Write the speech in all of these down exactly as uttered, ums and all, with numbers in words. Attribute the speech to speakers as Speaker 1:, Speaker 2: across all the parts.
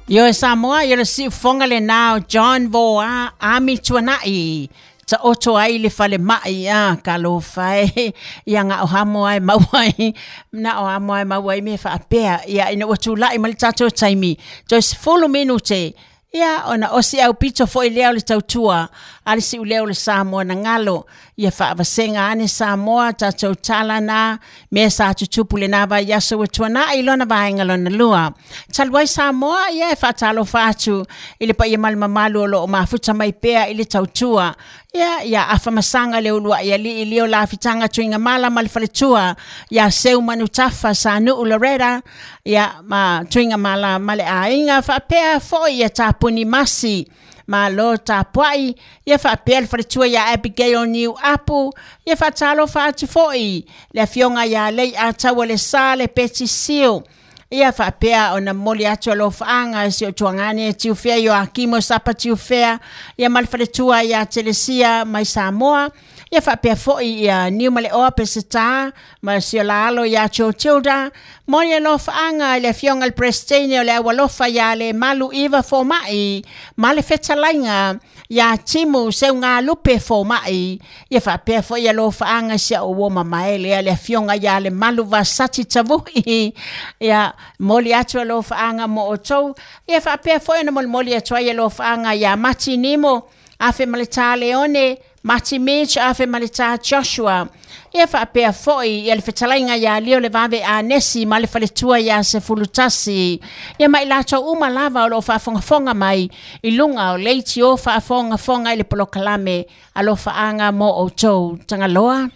Speaker 1: Ioe Samoa, ia le siufofoga lenā o John Voa Ami Tuana'i taoto ai le falema'i a talofa e ia ga'o hamo ae maua ai na o amo ae maua ai mea faapea ia ina ua tula'i ma le tatou taimi toe sefulu minute ia ona osi aupito fo'i lea o le tautua a le si'ulea o le Samoa na galo ia faavasega ane Samoa tatou tala na mea sa tutupu lenā vaiaso ua tuana'i lona vaega lona lua. Talu ai Samoa ia e faatalofa atu i le paia ma le mamalu o loo mafuta mai pea i le tautua ia ia afamasaga le ulua'i alii lio lafitaga tuigamala ma le faletua ia seu manutafa Sanu'u Loretta ia ma Tuigamala ma le aiga faapea fo'i ia tapuni masi malo tapua'i ia faapea le faletua ia Abigail Niu Apu ia faatalofa atu fo'i le afioga ia Lei Ataua le Sa le Peti Sio ia faapea ona momoli atu alofaaga si o tuagane Tiufea Ioakimo Sapa Tiufea ia ma le faletua ia Telesia mai Samoa ia faapea fo'i ia Niu Maleoa Peseta ma si o laalo ia Tilda moli alofaaga i le afioga le Peresetene o le Aualofa ia le Malu Iva Foma'i ma le fetalaiga ia Timu Seugalupe Foma'i ia faapea fo'i alofaaga si a'u uo mamaele le afioga ia le Malu Vasati Tavu'i ia moli atu alofaaga mo outou ia faapea fo'i ona molimoli atu ai alofaaga ia Mati Nimo afe ma le Tā Leone Mati Mitch afe ma le Tā Joshua ia faapea fo'i ia le fetalaiga ia Lio le Vave Anesi ma le faletua ia Sefulutasi ia ma i latou uma lava o loo faafogafoga mai i luga o leitio faafogafoga i le polokalame alofaaga mo outou Tagaloa.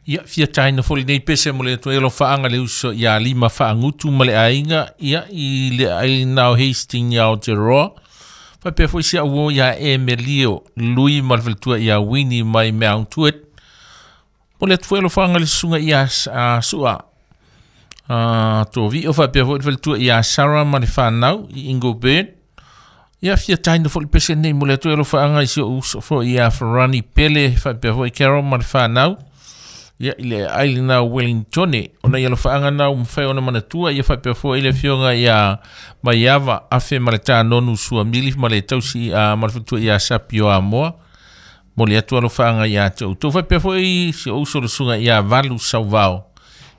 Speaker 2: Ia fia taina fo lenei pese mo le atu alofaaga le uso ia lima faagutu ma le aiga ia i le aina o Hastings ia Aotearoa. Faapea foi si a'u ia Emelio Lui ma le faletua ia Winnie mai Mount Druitt. Mo le atu foi alofaaga le susuga ia Su'a Tovi'o faapea foi le faletua ia Sarah ma le fanau i Ingleburn. Ia fia taina foi le pese nei mo le atu alofaaga i si o'u uso foi ia Farani Pele faapea foi Carol ma le fanau ia i le ailina Wellington ona ia alofaaga na ua mafai ona manatua ia faapea foi le afioga ia Maiava afe ma le tanonu suamili ma le tausi a ma le faletua ia Sapio Amoa mo le atu alofaaga ia te outou faapea foi si o'u uso le susuga ia Valu Sauvao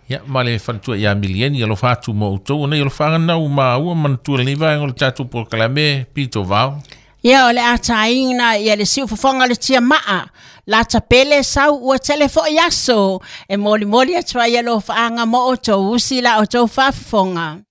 Speaker 2: ia ma le faletua ia Milieni alofa atu mo outou ona ia alofaaga na ua maua manatua lenei vaega o le tatou polokalame pito vao.
Speaker 1: Ia o le ataina ia le siufofoga o le tiamaa lata pele sau ua tele fo'i aso e molimoli atu ai alofaaga mo outou usi la outou faafofoga.